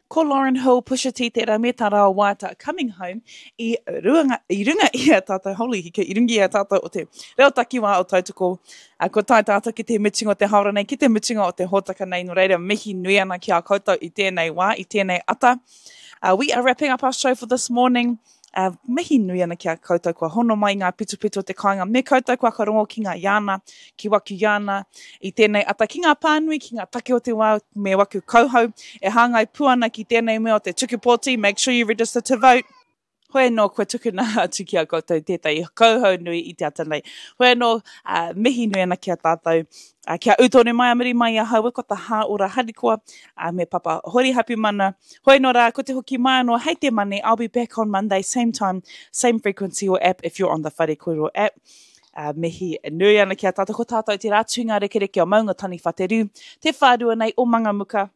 Ko Lauryn Hill, Pusha T tērā me tā rāua waiata Coming Home i runga, i runga i a tātou, holy hika, i runga i a tātou o te reo takiwā o Tautoko. Uh, kua tae tātou ki te mutunga o te haora nei, ki te mutunga o te hōtaka nei, nō reira mihi nui ana ki a koutou i tēnei wā, i tēnei ata. Uh, we are wrapping up our show for this morning. Uh, mihi nui ana ki a koutou kua hono mai ngā pitopito o te kāinga me koutou kua whakarongo ki ngā iāna, ki waku iāna i tēnei ata, ki ngā pānui, ki ngā take o te wā me waku kauhau e hāngai pū ana ki tēnei mea o te tuku pōti, make sure you register to vote. Hoi anō kua tukuna atu ki a koutou tētahi kauhau nui i te ata nei. Hoi anō, uh, mihi nui ana ki a tātou, uh, kia ū tonu mai a muri mai i ahau, ko ta hā ora harikoa, uh, me Papa Hori Hapimana, Hoi anō rā, ko te hoki mai anō hei te Mane, I'll be back on Monday, same time, same frequency or app if you're on the Whare Kōrero app. Uh, mihi nui ana ki a tātou, ko tātou te rā tūnga rekereke o Maunga Taniwha te rū, te whārua nei o Mangamuka.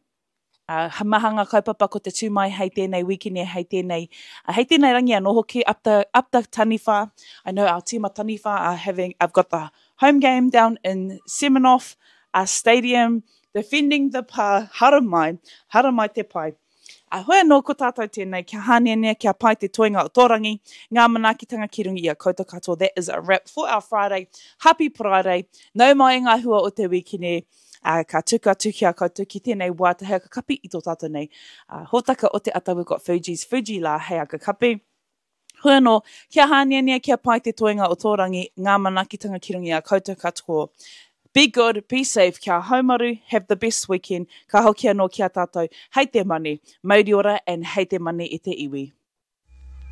Uh, maha ngā kaupapa ko te tū mai hei tēnei wīkene, hei tēnei, uh, hei tēnei rangi anō hoki, up the, up the Taniwha. I know our team of Taniwha are having, I've got the home game down in Semenoff uh, Stadium, Defending the pā, haramai, haramai te pai. A hoi anō ko tātou tēnei, kia hāneanea, kia pai te toenga o tō rangi, ngā manaakitanga ki runga i a koutou katoa. That is a wrap for our Friday. Happy Paraire. Nau mai ngā hua o te wīkene, ā, ka tuku atu ki a koutou ki tēnei wā te hei aka-kapi i tō tātou nei hōtaka o te ata We've got Fugees, Fuji La hei aka-kapi. Hoi anō, kia hāneanea, kia pai te toenga o tō rangi, ngā manaakitanga ki runga i a koutou katoa. Be good, be safe, kia haumaru, have the best weekend, ka hoki anō ki a tātou, hei te mane, mauri ora and hei te mane e te iwi.